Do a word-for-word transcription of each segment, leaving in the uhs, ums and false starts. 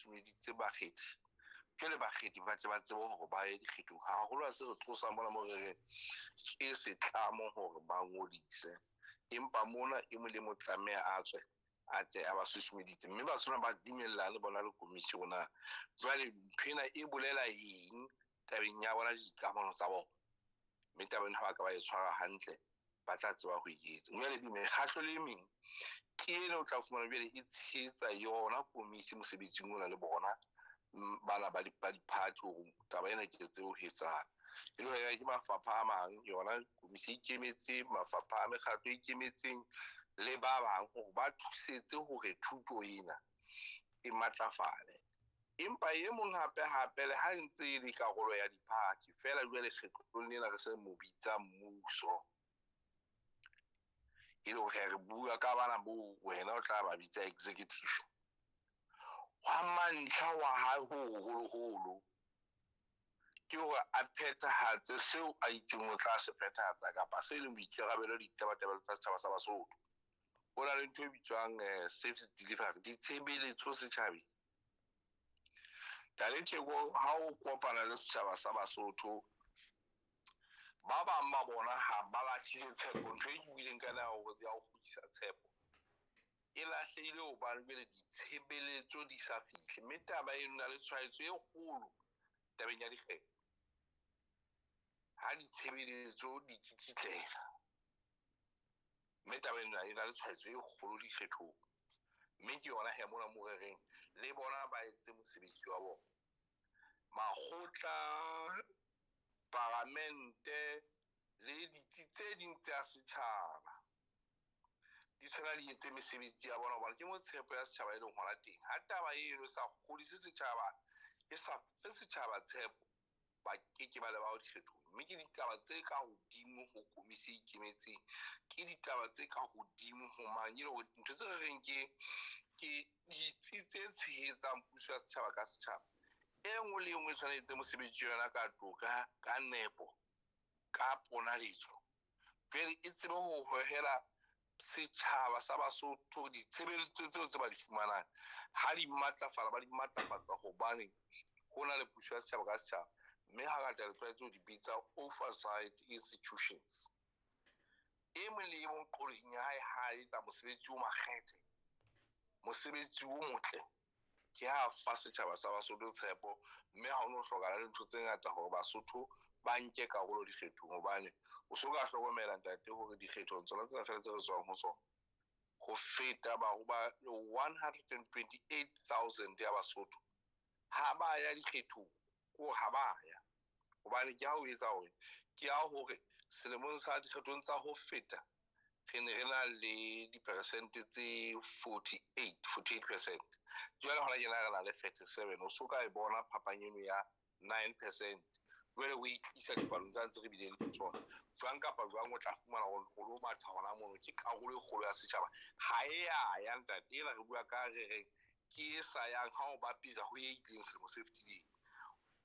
susumeditse bakgethi, jwale bakgethi ba tle ba tsebe hore ba ye dikgethong. Haholo ha se re tlosa mona mo re reng ke setlamo hore ba ngodise, empa mona e mong le mong tlameha a tswe a tle a ba susumeditse, mme ba tshwana ba dumellane le bona le komisi na jwale ntho ena e bolela eng tabeng ya bona dikamano tsa bona, mme taba ena ha ba ka ba e tshwara hantle ba tla tseba ho e etsa. Jwale mekgatlo le e meng ke ena o tla fumana jwale e tshehetsa yona komisi mosebetsing ona le bona bana ba di-party hore taba ena ke tsebe ho etsahala. E le hore ke mafapha a mang, yona komisi e ikemetseng, mafapha a mekgatlo e ikemetseng le ba bang hore ba thusetse hore thuto ena e matlafale. Empa e mong hape hape le ha ntse e le karolo ya di-party feela, jwale kgetlong lena re se mo bitsa mmuso, e le hore re bua ka bana bo wena o tla ba bitsa executive. Hwa mantlha wa hae ho hoholoholo ke hore a phethahatse seo a itseng o tla se phethahatsa kapa se leng boikarabelo ditabatabelo tsa setjhaba sa Basotho. Ho na le ntho e bitswang service delivery, ditshebeletso setjhabeng. Theko ha o kopana le setjhaba sa Basotho, ba bang ba bona ha ba lahlile tshepo. Ntho e ke buileng ka yona ya ho ya ho kgutlisa tshepo e lahlehile hobane jwale ditshebeletso di sa fihle, mme taba eno na le tshwaetso e kgolo tabeng ya dikgetho. Ha ditshebeletso di kikitlela, mme taba ena e na le tshwaetso e kgolo dikgethong, mme ke yona he mona mo re reng le bona ba etse mosebetsi wa bona. Makgotla, paramente le ditsi tse ding tsa setjhaba di tshwana di etse mesebetsi ya bona, hobane ke mo tshepo ya setjhaba e leng hona teng. Ha taba eno e sa kgodise setjhaba, e sa fe setjhaba tshepo, ba keke ba leba dikgethong. Mme ke ditaba tse ka hodimo ho komisi e ikemetseng, ke ditaba tse ka hodimo ho mang, e le hore ntho tse re reng ke ke ditsi tse tshehetsang puso ya setjhaba ka setjhaba. E nngwe le e nngwe e tshwanetse mosebetsi wa yona ka toka, ka nepo, ka ponaletso, jwale e tsebe ho hohela setjhaba sa Basotho ditshebeletso tseo tse ba di fumanang. Ha di matlafala, ba di matlafatsa hobane ho na le puso ya setjhaba ka setjhaba, mme hangata re tlwaetse ho di bitsa oversight institutions. E mong le e mong qollong ya hae ha etsa mosebetsi o makgethe, mosebetsi o motle, ke ha fa setjhaba sa Basotho tshepo, mme ha ho no hlokahala le ntho tse ngata hore Basotho ba nke karolo dikgethong, hobane o so ka hlokomela ntate hore dikgethong tsona tsena feela tse re tswang ho tsona, ho feta ba ho ba one hundred and twenty-eight thousand ya Basotho ha ba ya dikgethong, ko ha ba ya. Hobane ke ha o etsa hore ke ha hore selemong sa dikgethong tsa ho feta re ne re na le diperesente tse forty-eight, forty-eight percent. Jwale hona tjena re na le thirty-seven. O so ka e bona phapang eno ya nine percent. Jwale o e tlisa dipalong tsa ntse re bileng le tsona. Jwang kapa jwang o tla fumana hore o lo matha hona mono, ke karolo e kgolo ya setjhaba. Ha e ya ya ntate, ena re bua ka re reng ke e sa yang ha o bapisa ho e ileng selemo se fetileng.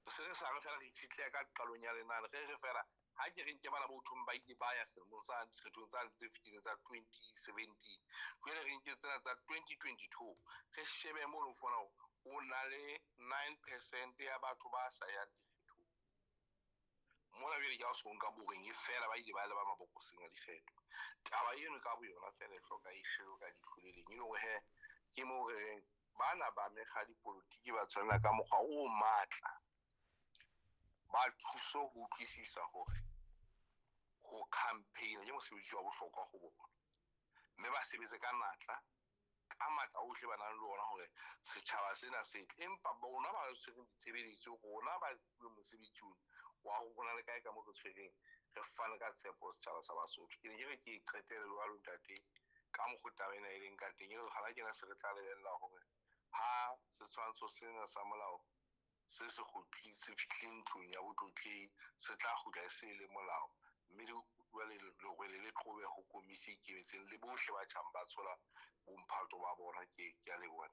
Se re sa re fela re itshetleha ka qalong ya lenane, re re fela ha ke re nke bana ba uthong ba ile ba ya selemong sa dikgethong tsa tse fetileng tsa twenty seventeen, jwale re nke tsena tsa twenty twenty-two, re shebe mo lo fumana hore o na le nine percent ya batho ba sa yang dikgethong. Mona jwale ke ha o so nka boreng e fela ba ile ba leba mabokoseng a dikgetho. Taba eno ka boyona fela e hloka e shebwe ka leihlo le leng, e le hore he ke moo re reng bana ba mekga dipolotiki ba tshwanela ka mokgwa o matla ba thuso ho utlwisisa hore ho campaign ke mosebetsi wa bohlokwa ho bona, mme ba sebetse ka natla ka matla ohle ba nang le ona hore setjhaba sena se tle. Empa bona ba tshwereng ditshebeletso, rona ba fuweng mosebetsi ona wa ho bona le kae ka moo re tshwereng, re fane ka tshepo setjhaba sa Basotho. Ke ne ke re ke e qetele jwalo ntate ka mokgwa taba ena e leng ka teng, e le hore hana kena se re tla lebella hore ha setshwantsho sena sa molao se se kgutli, se fihlile ntlong ya botlotlehi, se tla kgutla e se le molao, mme jwale lerwele le qobe ho komisi e ikemetseng le bohle ba tjhang ba tshola bomphato ba bona. Ke, ke a leboha.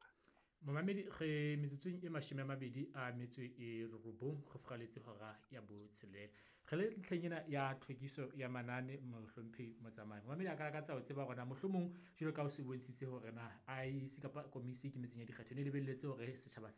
Momamedi, re metsotsong e mashome a mabedi a metso e robong re furaletse hora ya botshelela. Re le ntlheng ena ya tlhwekiso ya manane, mohlomphehi Motsamai. Momamedi a ka lakatsa ho tseba hore na mohlomong jwalo ka o se bontshitse hore na I E C kapa komisi e ikemetseng ya dikgetho ne lebelletse hore setjhaba sa